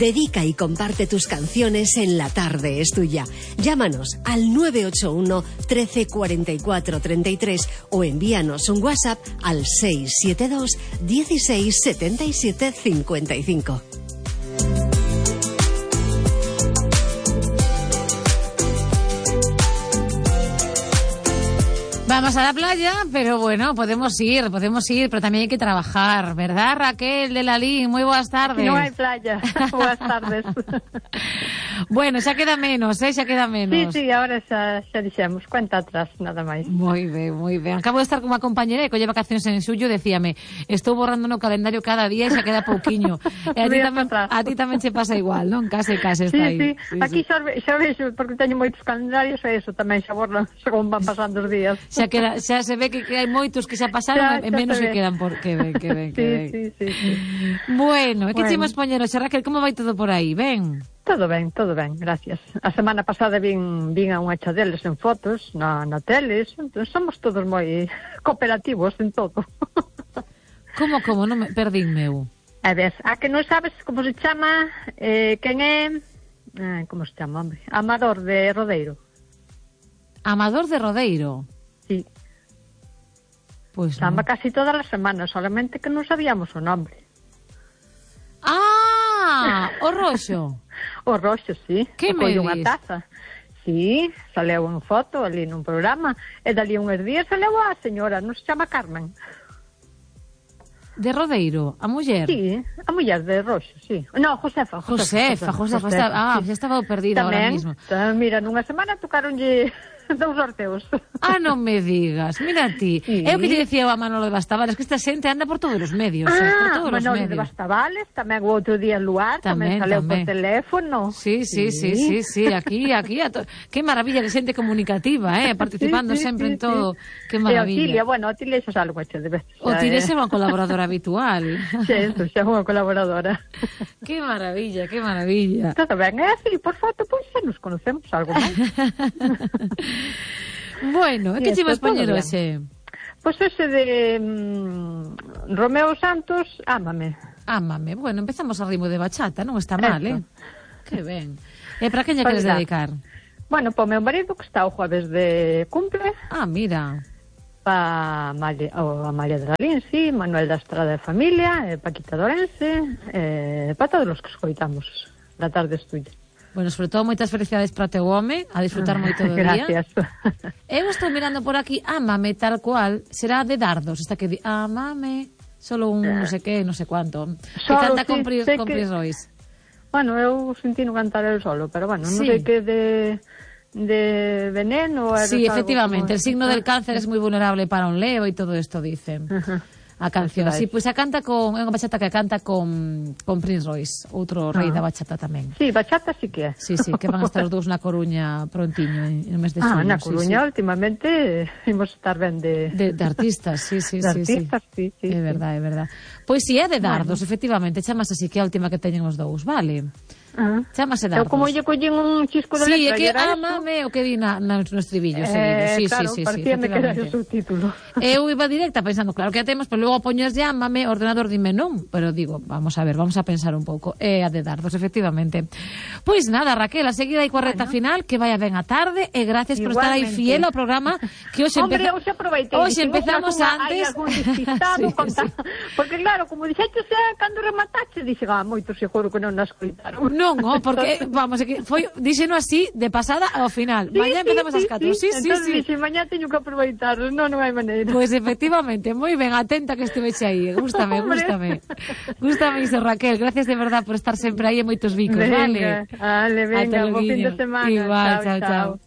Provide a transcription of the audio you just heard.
Dedica y comparte tus canciones en La Tarde es Tuya. Llámanos al 981 13 44 33 o envíanos un WhatsApp al 672 16 77 55. Vamos a la playa, pero bueno, podemos ir, pero también hay que trabajar, ¿verdad, Raquel de Lalín? Muy buenas tardes. No hay playa. Buenas tardes. Bueno, xa queda menos, xa queda menos. Sí, ahora xa dixemos, cuenta atrás, nada máis. Moi ben. Acabo de estar con unha compañera que colle vacacións en xullo, decíame, estou borrando no calendario cada día e xa queda pouquiño. E a ti tamén se pasa igual, non? Case está aí. Sí. Aquí xa vexo, porque teño moitos calendarios e eso tamén xa borran según van pasando os días. Xa se ve que hai moitos que xa pasaron e menos que quedan por que ven. Sí. Bueno, e que chimos poñer hoxe, Raquel, como vai todo por aí? Ben? Todo ben, gracias. A semana pasada vin a unha chadeles en fotos na teles, entón somos todos moi cooperativos en todo. Como? Non me perdín meu. A ver, a que non sabes como se chama, quen é, como se chama, hombre? Amador de Rodeiro. Amador de Rodeiro? Sí. Pois chama casi todas as semanas, solamente que non sabíamos o nombre. O Roxo. O Roxo, sí. Que me dis? Unha taza. Sí, saleu en foto ali nun programa, e dali uns días saleu a señora, non se chama Carmen. De Rodeiro, a muller? Sí, a muller de Roxo, sí. No, Josefa. Já estaba perdida ahora mismo. Mira, nunha semana tocaronlle 2 sorteos. Non me digas, mira ti. Sí. É o que lle dicía a Manolo de Bastavales, que esta xente anda por todos os medios. Manolo de Bastavales, tamén o outro día en Luar, tamén saleu por teléfono. Sí, aquí. Que maravilla de xente comunicativa, participando sempre en todo. Que maravilla. A Otilia xa salgo hecho de veces. Otilia é unha colaboradora habitual. Xa é unha colaboradora. Que maravilla. Todo ben, é así, por foto, pois xa nos conocemos algo máis. Bueno, que chivas poñer hoxe? Pois hoxe de Romeo Santos, Ámame. Bueno, empezamos a ritmo de bachata, non está mal, Que ben. E para quen lle queres dedicar? Bueno, para o meu marido que está o jueves de cumple. Mira. Para Amalia de Lalín, sí, Manuel da Estrada de Familia, Paquita Dorense, para todos os que escoitamos La Tarde es Tuya. Bueno, sobre todo moitas felicidades para o teu home, a disfrutar moito do día. Gracias. Eu estou mirando por aquí, Ámame tal cual, será de Dardos, esta que di, Ámame, solo un non sei que, non sei cuánto. Que canta con Pris Royce. Bueno, eu sentí no cantar el solo, pero bueno, non sei que de veneno. Sí, efectivamente, el signo del cáncer es muy vulnerable para un leo e todo isto dicen. A canción, sí, pois a canta con é unha bachata que canta con Prince Royce, outro rei da bachata tamén. Sí, bachata sí que é. Sí, que van a estar os dous na Coruña prontiño no mes de xullo. Na Coruña últimamente imos estar ben de artistas, sí. Artistas, sí. É verdade. Pois si é de Dardos, efectivamente, chamas así que é a última que teñen os dous, vale? Chamase Dardos. Eu como lle collín un chisco de letra. Sí, é que Ámame o que di no estribillo seguido. Claro, parecíame que era o subtítulo. Eu iba directa pensando, claro que a temos, pero logo poñes de Ámame, o ordenador dime non, pero digo, vamos a ver, vamos a pensar un pouco. É a de Dardos, efectivamente. Pois nada, Raquel, a seguir aí coa reta final, que vaya ben a tarde, e gracias por estar aí fiel ao programa, que hoxe empezamos antes. Porque claro, como dixeches, cando rematache, dixe, moitos seguro que non nos escoitaron. Non, porque, vamos, díxeno así, de pasada ao final. Mañá empezamos as 4. Sí. Entón, dixe, mañá teño que aproveitar, non hai maneira. Pois, efectivamente, moi ben, atenta que estiveche aí. Gústame iso, Raquel. Gracias de verdad por estar sempre aí en moitos bicos, vale? Venga, bo fin de semana. Igual, chao.